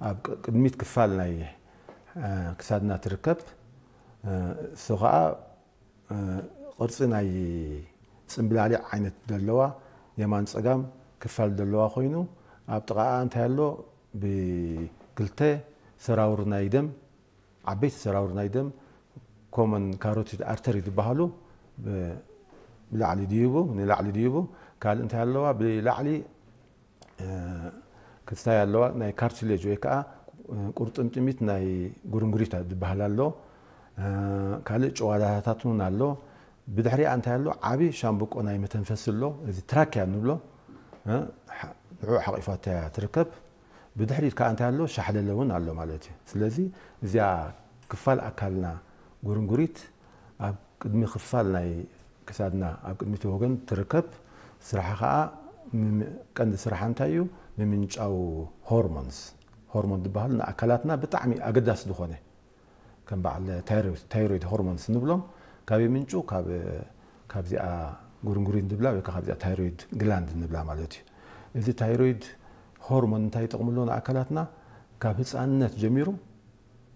ኣብ ቅ- ቅድሚት ክፋል ናይ እ፣ ክሳድና ትርከብ። እ፣ እሱ ኸዓ እ፣ ቅርፂ ናይ ፅምብላሊዕ ዓይነት ዘለዋ፣ የማን ፀጋም ክፋል ዘለዋ ኮይኑ፣ ኣብ ጥቓኣ እንታይ ኣሎ? ብክልተ ሰራውር ናይ ደም፣ ዓበይቲ ሰራውር ናይ ደም፣ ኮመን ካሮቲድ ኣርተሪ ዝበሃሉ ብ- ብላዕሊ ድይቡ፣ ንላዕሊ ድይቡ። ካልእ እንታይ ኣለዋ? ብላዕሊ እ፣ ክስታይ ኣለዋ። ናይ ካርቲሌጅ ወይ ከዓ እ፣ ቁርጥምጥሚት ናይ ጉርንጉሪት ዝበሃል ኣሎ። እ፣ ካልእ ጭዋዳታት እውን ኣሎ። ብድሕሪኣ እንታይ ኣሎ? ዓቢ ሻምብቆ ናይ መተንፈሲ ኣሎ። እዚ ትራኪያ ንብሎ። እ፣ ሓ- ንዕኡ ሓቂፋታ እያ ትርከብ። ብድሕሪት ከዓ እንታይ ኣሎ? ሻሕለለ እውን ኣሎ ማለት እዩ። ስለዚ እዚኣ ክፋል ኣካልና ጉርንጉሪት ኣብ ቅድሚ ክፋል ናይ ክሳድና ኣብ ቅድሚቲ ወገን ትርከብ። ስራሓ ከዓ ምም- ቀንዲ ስራሓ እንታይ እዩ? ምምንጫው ሆርሞንስ። ሆርሞን ዝበሃሉ ንኣካላትና ብጣዕሚ ኣገዳሲ ዝኾነ ከም በዓል ታይሮይድ፣ ታይሮይድ ሆርሞንስ ንብሎም ካብ ምንጩ ካብ ካብዚኣ ጉርንጉሪት ንብላ ወይ ከዓ ካብዚኣ ታይሮይድ ግላንድ ንብላ ማለት እዩ። እዚ ታይሮይድ ሆርሞን እንታይ ይጠቕምሎ ንኣካላትና? ካብ ህፃንነት ጀሚሩ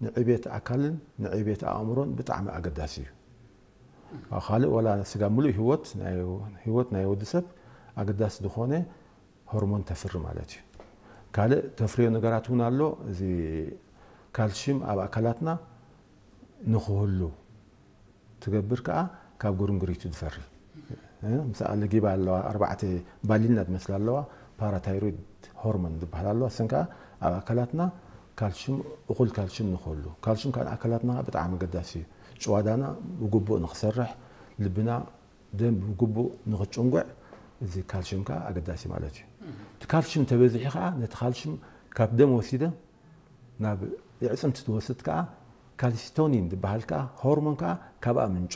ንዕቤት ኣካልን ንዕቤት ኣእምሮን ብጣዕሚ ኣገዳሲ እዩ። ካልእ ዋላ ስጋ ምሉእ ህይወት ናይ ህይወት ናይ ወዲ ሰብ ኣገዳሲ ዝኾነ ሆርሞን ተፍሪ ማለት እዩ። ካልእ ተፍርዮ ነገራት እውን ኣሎ። እዚ ካልሽም ኣብ ኣካላትና ንክህሉ ትገብር ከዓ ካብ ጉርንጉሪቱ ዝፈሪ እ፣ ምስኣ ለጊባ ኣለዋ። ኣርባዕተ ባሊና ዝመስላ ኣለዋ። ፓራታይሮይድ ሆርሞን ዝበሃል ኣለዋ። እሰን ከዓ ኣብ ኣካላትና ካልሽም እኹል ካልሽም ንክህሉ፣ ካልሽም ከዓ ንኣካላትና ብጣዕሚ ኣገዳሲ እዩ። ጭዋዳና ብግቡእ ንክሰርሕ፣ ልብና ደም ብግቡእ ንክጭንጉዕ፣ እዚ ካልሽም ከዓ ኣገዳሲ ማለት እዩ። እቲ ካልሽም ተበዚሑ ከዓ ነቲ ካልሽም ካብ ደም ወሲደ ናብ የዕፅምቲ ትወስድ ከዓ ካልሲቶኒን ዝበሃል ከዓ ሆርሞን ከዓ ካብኣ ምንጩ።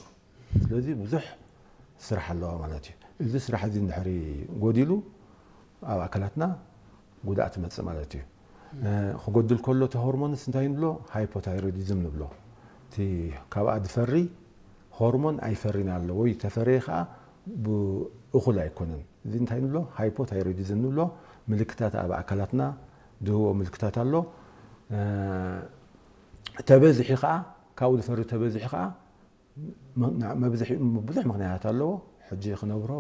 ስለዚ ብዙሕ ስራሕ ኣለዋ ማለት እዩ። እዚ ስራሕ እዚ እንድሕሪ ጎዲሉ ኣብ ኣካላትና ጉድኣት ይመፅእ ማለት እዩ። እ፣ ክጎድል ከሎ እቲ ሆርሞንስ እንታይ ንብሎ? ሃይፖታይሮይዲዝም ንብሎ። እቲ ካብኣ ዝፈሪ ሆርሞን ኣይፈሪን ኣሎ ወይ ተፈረየ ከዓ ብእኹል ኣይኮነን። እዚ እንታይ ንብሎ? ሃይፖታይሮይዲዝም ንብሎ። ምልክታት ኣብ ኣካላትና ድህቦ ምልክታት ኣሎ። እ፣ ተበዚሑ ከዓ ካብኡ ዝፈሪ ተበዚሑ ከዓ መ- መብዝሒ ብዙሕ ምክንያት ኣለዎ። ሕጂ ክነብሮ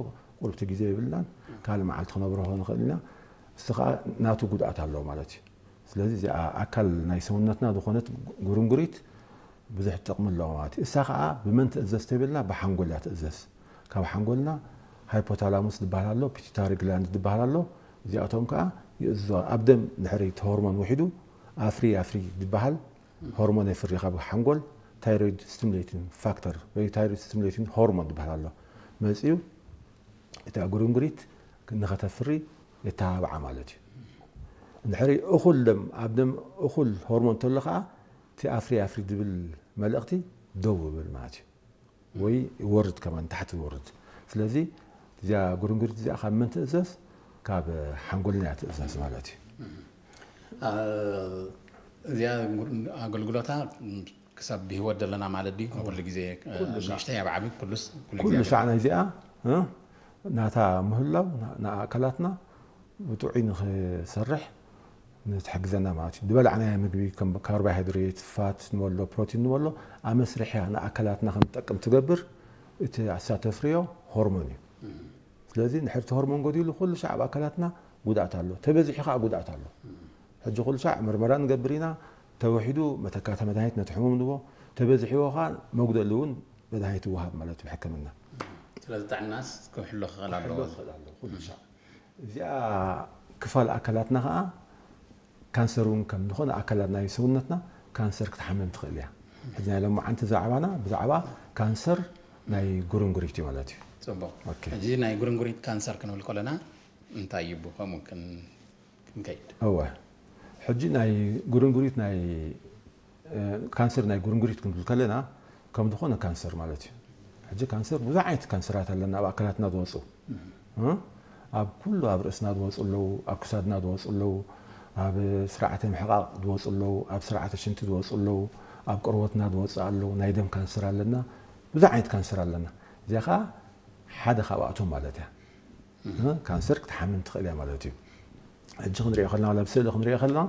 ቁልቲ ግዜ የብልናን። ካልእ መዓልቲ ክነብሮ ንኽእል ኢና። እሱ ከዓ ናቱ ጉድኣት ኣለዎ ማለት እዩ። ስለዚ እዚኣ ኣካል ናይ ሰውነትና ዝኾነት ጉርንጉሪት ብዙሕ ጥቕሚ ኣለዎ ማለት እዩ። እሳ ከዓ ብመን ትእዘዝ ተብልና ብሓንጎል እያ ትእዘዝ። ካብ ሓንጎልና ሃይፖታላሙስ ዝበሃል ኣሎ፣ ፒቱታሪ ግላንድ ዝበሃል ኣሎ። እዚኣቶም ከዓ ይእዝዞ። ኣብ ደም ድሕሪ እቲ ሆርሞን ውሒዱ ኣፍሪ ኣፍሪ ዝበሃል ሆርሞን የፍሪ ካብ ሓንጎል። ታይሮይድ ስቲሙሌቲንግ ፋክተር ወይ ታይሮይድ ስቲሙሌቲንግ ሆርሞን ዝበሃል ኣሎ። መፅዩ እታ ጉርንጉሪት ንኸተፍሪ የተባብዓ ማለት እዩ። እንድሕሪ እኹል ደም ኣብ ደም እኹል ሆርሞን እንተሎ ከዓ እቲ ኣፍሪ ኣፍሪ ዝብል መልእኽቲ ደው ይብል ማለት እዩ። ወይ ይወርድ ከማን ታሕቲ ይወርድ። ስለዚ እዚኣ ጉርንጉሪት እዚኣ ካብ መን ትእዘዝ? ካብ ሓንጎልና እያ ትእዘዝ ማለት እዩ። እዚኣ ኣገልግሎታ ክሳብ ብህይወት ዘለና ማለት ድዩ? ኩሉ ግዜ ንእሽተይ ኣብ ዓቢ ኩሉስ ኩሉ ግዜ ሻዕ ናይ እዚኣ እ፣ ናታ ምህላው ንኣካላትና ብጥዑይ ንክሰርሕ ንትሕግዘና ማለት እዩ። ዝበላዕናዮ ምግቢ ከም ካርቦሃይድሬት፣ ፋት ንበሎ፣ ፕሮቲን ንበሎ ኣብ መስርሕያ ንኣካላትና ከም ትጠቅም ትገብር እቲ ኣሳ ተፍርዮ ሆርሞን እዩ። ስለዚ ንድሕር እቲ ሆርሞን ጎዲሉ ኩሉ ሻዕ ኣብ ኣካላትና ጉድኣት ኣሎ፣ ተበዚሑ ከዓ ጉድኣት ኣሎ። ሕጂ ኩሉ ሻዕ ምርመራ ንገብር ኢና፣ ተወሒዱ መተካእታ መድሃኒት ነቲ ሕሙም ንቦ፣ ተበዚሕዎ ከዓ መጉደሊ እውን መድሃኒት ይወሃብ ማለት እዩ ብሕክምና። ስለዚ ጥዕናስ ክሕሎ ክኽእል ኣለዎ። ክሕሎ ክኽእል ኣለዎ ኩሉ ሻዕ። እዚኣ ክፋል ኣካላትና ከዓ ካንሰር እውን ከም ዝኾነ ኣካላት ናይ ሰውነትና ካንሰር ክትሓምም ትኽእል እያ። ሕጂ ናይ ሎማዓንቲ ዛዕባና ብዛዕባ ካንሰር ናይ ጉርንጉሪት እዩ ማለት እዩ። ፅቡቅ። ኦኬ። ሕጂ ናይ ጉርንጉሪት ካንሰር ክንብል ከለና እንታይ እዩ ብከምኡ ክን- ክንከይድ? እወ፣ ሕጂ ናይ ጉርንጉሪት ናይ እ፣ ካንሰር ናይ ጉርንጉሪት ክንብል ከለና ከም ዝኾነ ካንሰር ማለት እዩ። ሕጂ ካንሰር ብዙሕ ዓይነት ካንሰራት ኣለና ኣብ ኣካላትና ዝወፁ እ፣ ኣብ ኩሉ ኣብ ርእስና ዝወፁ ኣለዉ፣ ኣብ ክሳድና ዝወፁ ኣለዉ፣ ኣብ ስርዓተ ምሕቃቕ ዝወፁ ኣለዉ፣ ኣብ ስርዓተ ሽንቲ ዝወፁ ኣለዉ፣ ኣብ ቆርበትና ዝወፁ ኣለዉ። ናይ ደም ካንሰር ኣለና፣ ብዙሕ ዓይነት ካንሰር ኣለና። እዚኣ ከዓ ሓደ ካብኣቶም ማለት እያ። እ፣ ካንሰር ክትሓምን ትኽእል እያ ማለት እዩ። ሕጂ ክንሪኦ ከለና ዋላ ብስእሊ ክንሪኦ ከለና